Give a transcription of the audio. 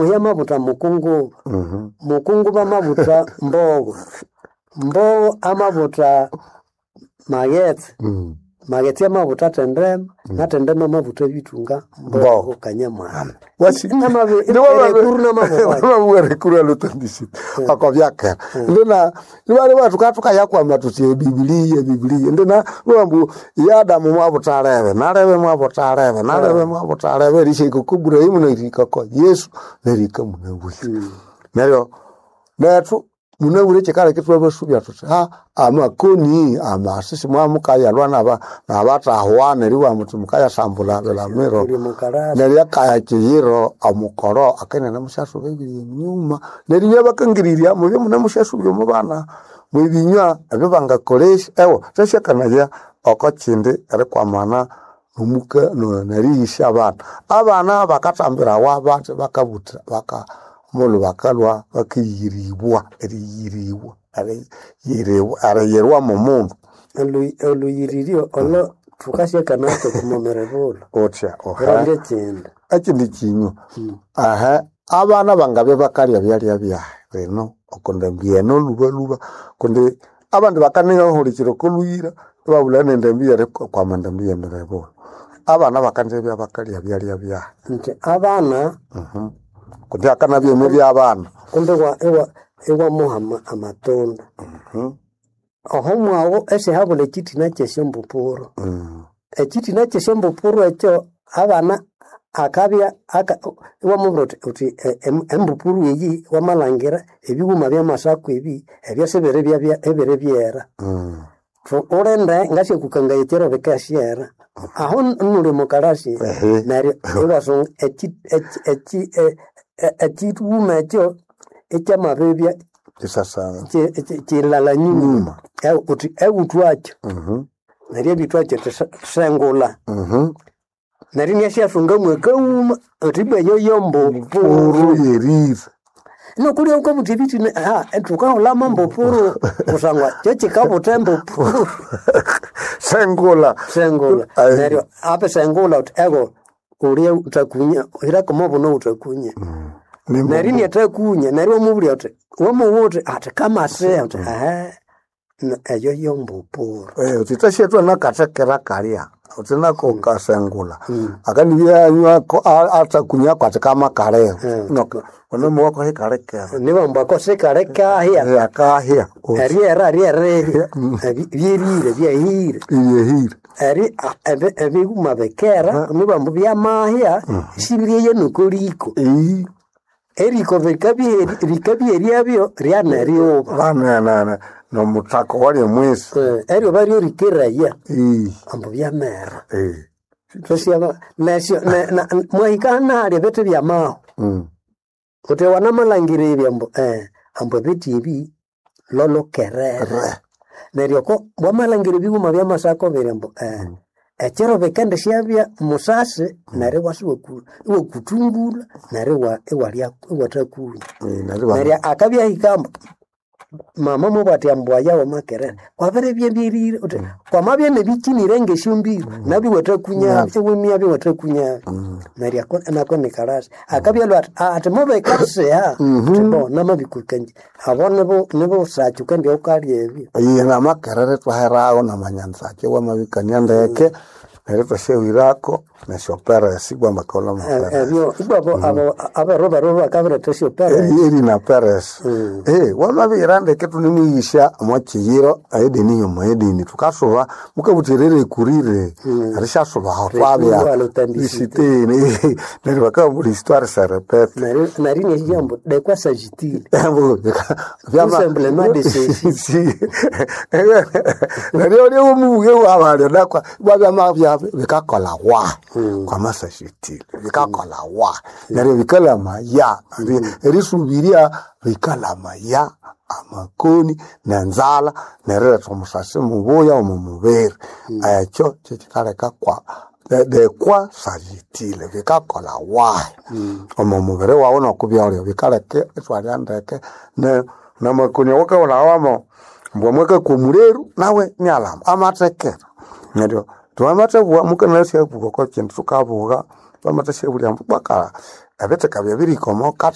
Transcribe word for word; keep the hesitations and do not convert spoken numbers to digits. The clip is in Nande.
Muhi amabuta mukunguba, Mhm. mukunguba amabuta mbogo, mbogo amabuta maghetse, Mm. maghetse amabuta tendema, na tendema amabuta bitunga mbogo Mbogo. kanyamwanda. Wasi- Namabi- Ni wamabi- erekuru namabuta. wamabuwerekuru alutandisite akobyakera ndina nibali batu tukayakwama tuti ebibiliya ebibiliya ndina lwambu ya Adamu mwabutalebe nalebe mwabutalebe nalebe mwabutalebe erishika ku Ibrahimu nerihika ko Yesu nerihika munabwire neryo nethu munabwire kyikaleka ithwabasubya thuthi ha amakoni amasisi mwamukayalwa naba nabatahwa neryo muthi mukayasambula bilamiro Uli mukarasi. neryo akaya kiyiro omukoro akenene musyasuba ebiri enyuma neryo ibyabakangirirya mubye mune musyasubya omu bana mwebinywa ebyo bangakolesya ewa thasyakanaya oko kindi erikwamana nomuka no- neriyisya abana abana bakathambirawa bathi bakabutha baka omulhu bakalhwa bakiyiribwa eriyiribwa eriyiribwa eriyirwa mumundu Olu- Oluyiririo olo thukasyakanacho kumomere bulo. uthya oha Uronde kyindi. ekindi kinywa aha abana bangabya bakalya byalya byahe lino okundambi eno lubaluba kundi abandi bakanighahulikira okoluyira ibabulha nendambi yerikwama endambi yemirebula abana bakanzibya bakalya byalya byahe Nti abana kundi akanabya emibya abana kumbe iwa iwa iwamuha ama- amatunda. Oho mwago esihabula ekyithina kyesyombupuru. Mm. Ekyithina kyesyombupuru ekyo abana akabya aka iwamubwira uthi uthi e- em- embupuru eyi wamalhangira ebighuma byamasaku ebi ebyo sibiri byabya ebiri byera. Mm. Thu- Ulinde ngasyakukangaya ekyiro bikasyera. Aho nuli mukalasi Ehe. neryo iwasunga ekyi- ekyi- ekyi- e- e- ekyighuma ekyo ekyamabibya Kisasana ki- ki- kilala nyuma nyuma Eu- uthi ewuthwakyo Mhm. neryo ebithwakyo uthi se- sengula Mhm. neryo inasyasunga mwakaghuma uthi ibwa eyo yombupuru puru yerire nokulya wukabuthi ebithina ha thukahulamo mbupuru kusangwa kyo kikabutha embupuru sengula sengula Ai. neryo ape sengula uthi ego ulye utakunya hirako buno utakunya Ni neryo inathakunya neryo wamubulya uthi wamuwa uthi athi kamasiha uthi ehe n- eyo yombupuru Eh, uthi nakathekera kalya uthi nako kasengula akandibyanywa athakunya kwati kamakaleo onomuwako hikalekera nibambwako sikalekahya akahya eryera ryererya byerire byahire ibyehire eri a- ebi- ebiguma bikera nibambu byamahya sibiryeya nokoliko ii eriko bikabye- rikabyeryabyo ryaneryoba bananana nomuthako walya mwesi Eh, eryoba ryorikeraya ii ambu byamera eh. Tosyaba nesyo ne- na- mwahika nahalya ebithi byamaho Mm. uthi wanamalhangira ebi ambu eh, ambu ebithi ebi lolokerere Re. neryo ko wamalhangira ebighuma byamasako biri ambu eh, ekyiro bikende syabya musasi neryo iwasa iwaku- iwakuthungulha neryo iwa- iwalya iwathakunya Eh, neryo ba- neryo akabya ahika ambu mama mubwati ambu aya wamakerere kwabiribya byerire uthi kwamabya nebikinire ngesyombiro nabyo iwathakunyabyo iwimyabyo iwathakunyabyo neryo ako nako nikalasi akabya ati ati mubikasiha uthi bo namabikukanje abo nibo nibusaki ukandia ukalya ebyo Iye namakerere twaherawo namanyanzake wamabikania ndeke neryo twasyahwirako nesyoperesi bwamakolha E- maperesi ebyo ibwabo abo aberu beru bakabiretha esyopere eri eri na peresi eh wamabihira ndeke tunemwigisha omwakiyiro aedeni yomo edeni tukasuba mukabuthirira ekurire erishasubaho twabya Rekuru alutandisite. isiteni neryo bakabula histoire se répète neryo neryo inyasyambu de quoi s'agit-il Vyama- simplement de ceci. Si. neryo oli omubuge wabalyo nakwa bwabyama bikakola wa kwamasashitile bikakola wa neryo bikalama ya erisubiria bikalama ya amakoni nenzala neriretha omusasi mubuya omu mubiri ekyo kyekikaleka kwa de- de quoi s'agit-il bikakola wahi omu mubiri wawu nokubyolya bikaleka ithwalya ndeke ne namakoni awakawulawamo mbwa mwakakwa omuleru nawe nialama amathekera neryo twamathebugha mukanasyabuka oko kindu thukabuga twamathasyabulia ambu bwakala ebitheka byabirihika omo